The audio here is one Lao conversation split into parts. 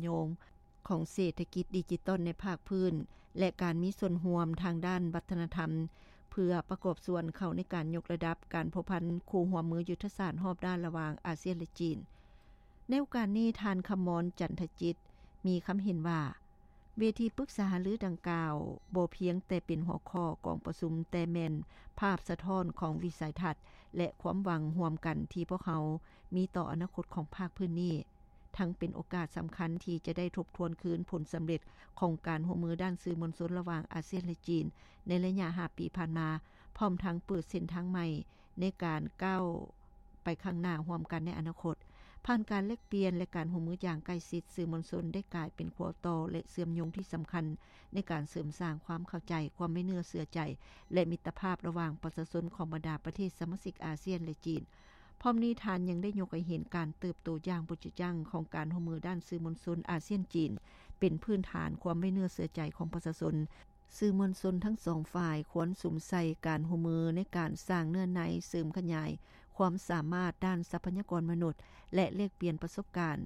ໂຍງຂອງເສດຖະກິດດິຈິຕອນໃນພາກພື້ນ ແລະ ການມີສ່ວນຮ່ວມທາງດ້ານວັດທະນະທຳ ເພື່ອປະກອບສ່ວນເຂົ້າໃນການຍົກລະດັບການພົວພັນຄູ່ຮ່ວມມືຍຸດທະສາດຮອບດ້ານລະຫວ່າງອາຊຽນ ແລະ ຈີນ. ໃນໂອກາດນີ້, ທ່ານ ຄຳມອນ ຈັນທະຈິດ ມີຄຳເຫັນວ່າ ເວທີປຶກສາຫາລືດັ່ງກ່າວ ບໍ່ພຽງແຕ່ເປັນຫົວຂໍ້ກອງປະຊຸມ, ແຕ່ແມ່ນພາບສະທ້ອນຂອງວິໄສທັດ ແລະ ຄວາມຫວັງຮ່ວມກັນທີ່ພວກເຮົາມີຕໍ່ອະນາຄົດຂອງພາກພື້ນນີ້, ທັງເປັນໂອກາດສຳຄັນທີ່ຈະໄດ້ທົບທວນຄືນຜົນສຳເລັດຂອງການຮ່ວມມືດ້ານສື່ມວນຊົນລະຫວ່າງອາຊຽນ ແລະ ຈີນ ໃນໄລຍະຫ້າປີຜ່ານມາ, ພ້ອມທັງເປີດເສັ້ນທາງໃໝ່ໃນການກ້າວ ໄປຂ້າງໜ້າຮ່ວມກັນໃນອະນາຄົດ. ຜ່ານການແລກປ່ຽນ ແລະ ການຮ່ວມມືຢ່າງໃກ້ຊິດ, ສື່ມວນຊົນໄດ້ກາຍເປັນຂົວຕໍ່ ແລະ ເຊື່ອມໂຍງທີ່ສຳຄັນໃນການເສີມສ້າງຄວາມເຂົ້າໃຈ, ຄວາມໄວ້ເນື້ອເຊື່ອໃຈ ແລະ ມິດຕະພາບລະຫວ່າງປະຊາຊົນຂອງບັນດາປະເທດສະມາຊິກອາຊຽນ ແລະ ຈີນ. ພ້ອມນີ້, ທ່ານຍັງໄດ້ຍົກໃຫ້ເຫັນການເຕີບໂຕຢ່າງບໍ່ຢຸດຢັ້ງຂອງການຮ່ວມມືດ້ານສື່ມວນຊົນອາຊຽນ-ຈີນ ເປັນພື້ນຖານຄວາມໄວ້ເນື້ອເຊື່ອໃຈຂອງປະຊາຊົນ. ສື່ມວນຊົນທັງສອງຝ່າຍຄວນສຸມໃສ່ການຮ່ວມມືໃນການສ້າງເນື້ອໃນ, ເສີມຂະຫຍາຍຄວາມສາມາດດ້ານຊັບພະຍາກອນມະນຸດ ແລະ ແລກປ່ຽນປະສົບການ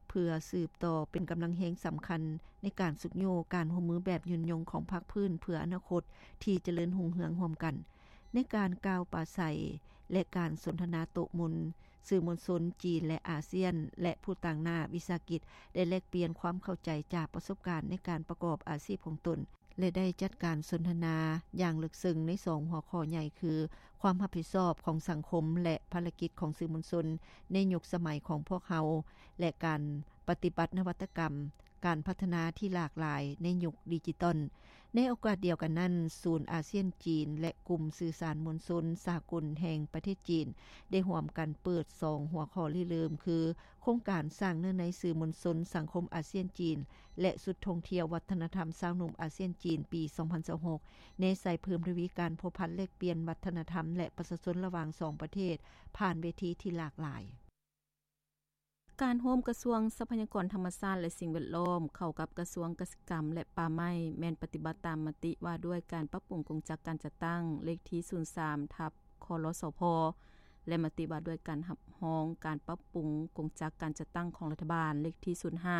ເພື່ອສືບຕໍ່ເປັນກຳລັງແຮງສຳຄັນໃນການຊຸກຍູ້ການຮ່ວມມືແບບຍືນຍົງຂອງພາກພື້ນເພື່ອອະນາຄົດທີ່ຈະເລີນຮຸ່ງເຮືອງຮ່ວມກັນ. ໃນການກ່າວປາໄສ ແລະ ການສົນທະນາໂຕະມົນ, ສື່ມວນຊົນຈີນ ແລະ ອາຊຽນ ແລະ ຜູ້ຕາງໜ້າວິສາຫະກິດ ໄດ້ແລກປ່ຽນຄວາມເຂົ້າໃຈຈາກປະສົບການໃນການປະກອບອາຊີບຂອງຕົນ ແລະ ໄດ້ຈັດການສົນທະນາຢ່າງເລິກເຊິ່ງໃນສອງຫົວຂໍ້ໃຫຍ່ຄື ຄວາມຮັບຜິດຊອບຂອງສັງຄົມ ແລະ ພາລະກິດຂອງສື່ມວນຊົນໃນຍຸກສະໄໝຂອງພວກເຮົາ ແລະ ການປະຕິບັດນະວັດຕະກຳ ການພັດທະນາທີ່ຫຼາກຫຼາຍໃນຍຸກດິຈິຕອນ. ໃນໂອກາດດຽວກັນນັ້ນ, ສູນອາຊຽນ-ຈີນ ແລະ ກຸ່ມສື່ສານມວນຊົນສາກົນແຫ່ງປະເທດຈີນ ໄດ້ຮ່ວມກັນເປີດສອງຫົວຂໍ້ລິເລີ່ມ ຄື ໂຄງການສ້າງເນື້ອໃນສື່ມວນຊົນສັງຄົມອາຊຽນ-ຈີນ ແລະ ຊຸດທ່ອງທ່ຽວວັດທະນະທຳຊາວໜຸ່ມອາຊຽນ-ຈີນ ປີສອງພັນຊາວຫົກ ແນໃສ່ເພີ່ມທະວີການພົວພັນແລກປ່ຽນວັດທະນະທຳ ແລະ ປະຊາຊົນລະຫວ່າງສອງປະເທດ ຜ່ານເວທີທີ່ຫຼາກຫຼາຍ. ການໂຮມກະຊວງຊັບພະຍາກອນທຳມະຊາດ ແລະ ສິ່ງແວດລ້ອມ ເຂົ້າກັບກະຊວງກະສິກຳ ແລະ ປ່າໄມ້ ແມ່ນປະຕິບັດຕາມມະຕິວ່າດ້ວຍການປັບປຸງກົງຈັກການຈັດຕັ້ງ ເລກທີສູນສາມ ທັບ ຄລສພ ແລະ ມະຕິວ່າດ້ວຍການຮັບຮອງການປັບປຸງກົງຈັກການຈັດຕັ້ງຂອງລັດຖະບານ ເລກທີສູນຫ້າ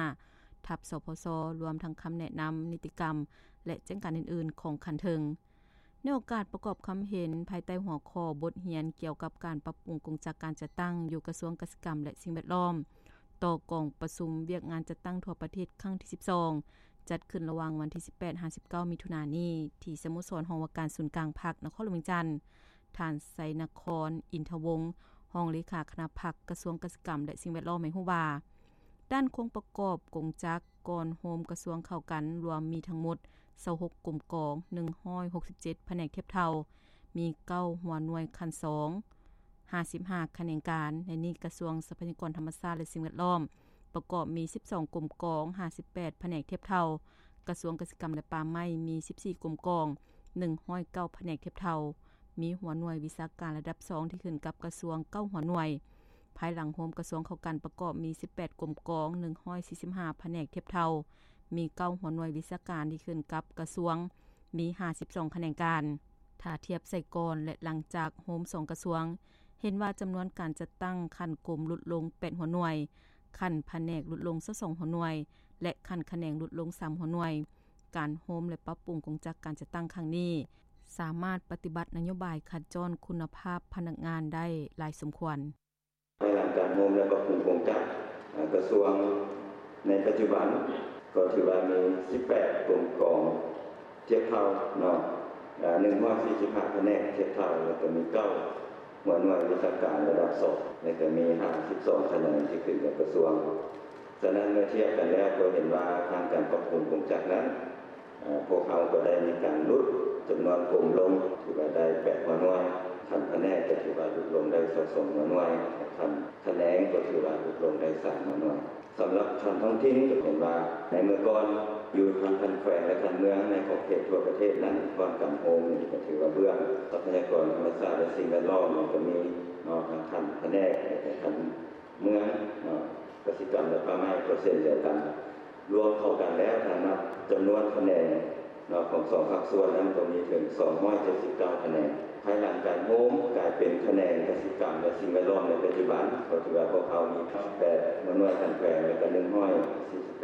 ທັບ ສພຊ ລວມທັງຄຳແນະນຳນິຕິກຳ ແລະ ແຈ້ງການອື່ນໆຂອງຂັ້ນເທິງ. ໃນໂອກາດປະກອບຄຳເຫັນພາຍໃຕ້ຫົວຂໍ້ບົດຮຽນກ່ຽວກັບການປັບປຸງກົງຈັກການຈັດຕັ້ງຢູ່ກະຊວງກະສິກຳ ແລະ ສິ່ງແວດລ້ອມ ຕໍ່ກອງປະຊຸມວຽກງານຈັດຕັ້ງທົ່ວປະເທດຄັ້ງທີສິບສອງ ຈັດຂຶ້ນລະຫວ່າງວັນທີສິບແປດຫາສິບເກົ້າ ມິຖຸນານີ້ ທີ່ສະໂມສອນຫ້ອງວ່າການສູນກາງພັກ ນະຄອນຫຼວງວຽງຈັນ, ທ່ານ ໄຊນະຄອນ ອິນທະວົງ ຮອງເລຂາຄະນະພັກ ກະຊວງກະສິກຳ ແລະ ສິ່ງແວດລ້ອມ ໃຫ້ຮູ້ວ່າ ດ້ານໂຄງປະກອບກົງຈັກກ່ອນໂຮມກະຊວງເຂົ້າກັນ ລວມມີທັງໝົດຊາວຫົກກົມກອງ, ໜຶ່ງຮ້ອຍຫົກສິບເຈັດພະແນກທຽບເທົ່າ, ມີເກົ້າຫົວໜ່ວຍຂັ້ນສອງ, ຫ້າສິບຫ້າຂະແໜງການ. ໃນນີ້ກະຊວງຊັບພະຍາກອນທຳມະຊາດ ແລະ ສິ່ງແວດລ້ອມ ປະກອບມີສິບສອງກົມກອງ, ຫ້າສິບແປດພະແນກທຽບເທົ່າ, ກະຊວງກະສິກຳ ແລະ ປ່າໄມ້ ມີສິບສີ່ກົມກອງ, ໜຶ່ງຮ້ອຍເກົ້າພະແນກທຽບເທົ່າ, ມີຫົວໜ່ວຍວິຊາການລະດັບສອງທີ່ຂຶ້ນກັບກະຊວງເກົ້າຫົວໜ່ວຍ. ພາຍຫຼັງໂຮມກະຊວງເຂົ້າກັນປະກອບມີສິບແປດກົມກອງ, ໜຶ່ງຮ້ອຍສີ່ສິບຫ້າພະແນກທຽບເທົ່າ, ມີເກົ້າຫົວໜ່ວຍວິຊາການທີ່ຂຶ້ນກັບກະຊວງ, ມີຫ້າສິບສອງຂະແໜງການ. ຖ້າທຽບໃສ່ກ່ອນ ແລະ ຫຼັງຈາກໂຮມສອງກະຊວງ, ເຫັນວ່າຈຳນວນການຈັດຕັ້ງຂັ້ນກົມຫຼຸດລົງແປດຫົວໜ່ວຍ, ຂັ້ນພະແນກຫຼຸດລົງຊາວສອງຫົວໜ່ວຍ ແລະ ຂັ້ນຂະແໜງຫຼຸດລົງສາມຫົວໜ່ວຍ. ການໂຮມ ແລະ ປັບປຸງກົງຈັກການຈັດຕັ້ງຄັ້ງນີ້ ສາມາດປະຕິບັດນະໂຍບາຍຂັດຈ້ອນຄຸນນະພາບພະນັກງານໄດ້ຫຼາຍສົມຄວນ. ພາຍຫຼັງການໂຮມ ແລະ ປັບປຸງກົງຈັກ ເອີ ກະຊວງໃນປັດຈຸບັນ ກໍຖືວ່າມີສິບແປດກົມກອງທຽບເທົ່າເນາະ, ເອີ ໜຶ່ງຮ້ອຍສີ່ສິບຫ້າພະແນກທຽບເທົ່າ ແລ້ວກໍມີເກົ້າຫົວໜ່ວຍວິຊາການລະດັບສອງ ແລ້ວກໍມີຫ້າສິບສອງຂະແໜງທີ່ຂຶ້ນກັບກະຊວງ. ສະນັ້ນ ເມື່ອທຽບກັນແລ້ວກໍເຫັນວ່າທາງການປັບປຸງກົງຈັກນັ້ນ ເອີ ພວກເຮົາກໍໄດ້ມີການຫຼຸດຈຳນວນກົມລົງ ຖືວ່າໄດ້ແປດຫົວໜ່ວຍ, ຂັ້ນພະແນກກໍຖືວ່າຫຼຸດລົງໄດ້ຊາວສອງຫົວໜ່ວຍ, ຂັ້ນຂະແໜງກໍຖືວ່າຫຼຸດລົງໄດ້ສາມຫົວໜ່ວຍ. ສຳລັບຂັ້ນທ້ອງຖິ່ນກໍເຫັນວ່າໃນເມື່ອກ່ອນຢູ່ທາງຂັ້ນແຂວງ ແລະ ຂັ້ນເມືອງໃນຂອບເຂດທົ່ວປະເທດນັ້ນ ກ່ອນການໂຮມນີ້ກໍຖືວ່າເບື້ອງຊັບພະຍາກອນທຳມະຊາດ ແລະ ສິ່ງແວດລ້ອມນີ້ກໍມີເນາະ ທາງຂັ້ນພະແນກ ແລະ ຂັ້ນ ເມືອງເນາະ, ກະສິກຳ ແລະ ປ່າໄມ້ກໍເຊັ່ນດຽວກັນ. ລວມເຂົ້າກັນແລ້ວ ຖ້ານັບຈຳນວນຂະແໜງເນາະ ຂອງສອງພາກສ່ວນນັ້ນ ກໍມີເຖິງສອງຮ້ອຍເຈັດສິບເກົ້າຂະແໜງ. ພາຍຫຼັງການໂຮມກາຍເປັນຂະແໜງກະສິກຳ ແລະ ສິ່ງແວດລ້ອມໃນປັດຈຸບັນ, ກໍຖືວ່າພວກເຮົາມີແປດໜ່ວຍຂັ້ນແຂວງ ແລະ ກໍໜຶ່ງຮ້ອຍສີ່ສິບແປ